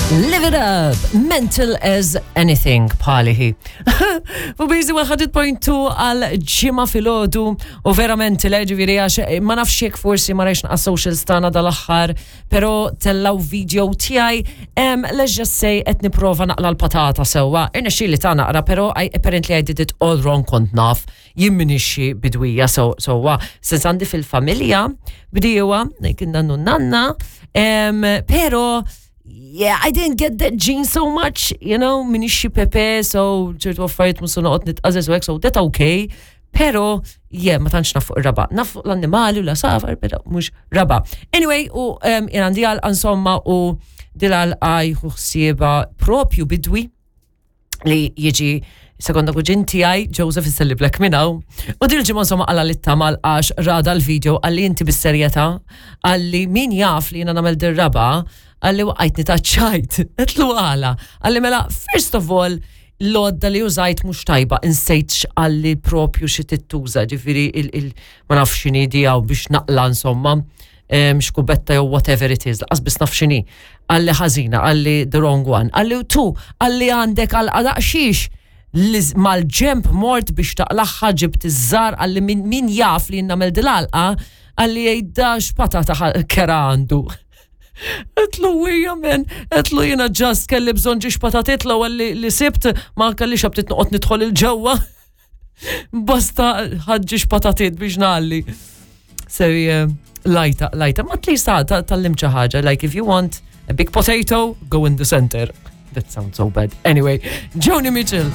Live it up, mental as anything, bħalihi. U bizi 100.2 għal ġimma filgħodu u verament le ġifieri għax eh, ma nafx jekk forsi ma rajx naqas socials tagħna dal-aħħar, però tellaw video tiegħi let's just say qed nipprova naqla l-patata sewwa. Irnexxieli ta' naqra, però I, apparently I did it all wrong kont naf. Jien m'iniex xi bidwija sewwa, sens għandi fil-familja bdiewa, kien nannu nanna, pero yeah, I didn't get that gene so much, you know, m'iniex xi pepe, so ċertu affarijiet mhux se noqgħod nitqażeż u hekk, so that okay. Pero, yeah, ma tantx naf fuq ir-raba. Naf fuq l-annimali u l-asafar, pero mhux raba. Anyway, u um, jien għandi għalqa insomma u dil-għalqa jieħu ħsieba propju bidwi li jiġi sekonda kuġin tiegħi Joseph iselli blek minn hawn. U dil ġimgħa insomma qala li tamal għax rada l-video għalli inti bis-serjetà għalli min jaf li jiena nagħmel dir-raba għalli waqajtni ta' ċajt. Etlu għala. Għalli mela first of all l-odda li użajt mhux tajba insejt għalli propju xi tittuża ġifieri il ma nafx x'inhi dijaw biex naqla insomma xkubetta jew whatever it is, laqas biss naf x'inhi. Qalli ħażina, qalli the wrong one. Qalli tu, qalli għandek għal daqxiex li mal-ġemp mort biex taqlaħħa ġibt iż-żar qalli min jaf li nagħmel dil-għalqa qalli jgħidda x'patata kera għandu. Etlu wija men, etlu jena ġast kelli bżon ġiex patatit l-ewwel li sibt ma kellix aptit noqgħod nidħol il-ġewwa. Basta ħadġiex patatiet biex nalli. So, yeah, lajta, lajta, ma at least tal-lim ħaġa, like if you want a big potato, go in the center. That sounds so bad. Anyway, Joni Mitchell.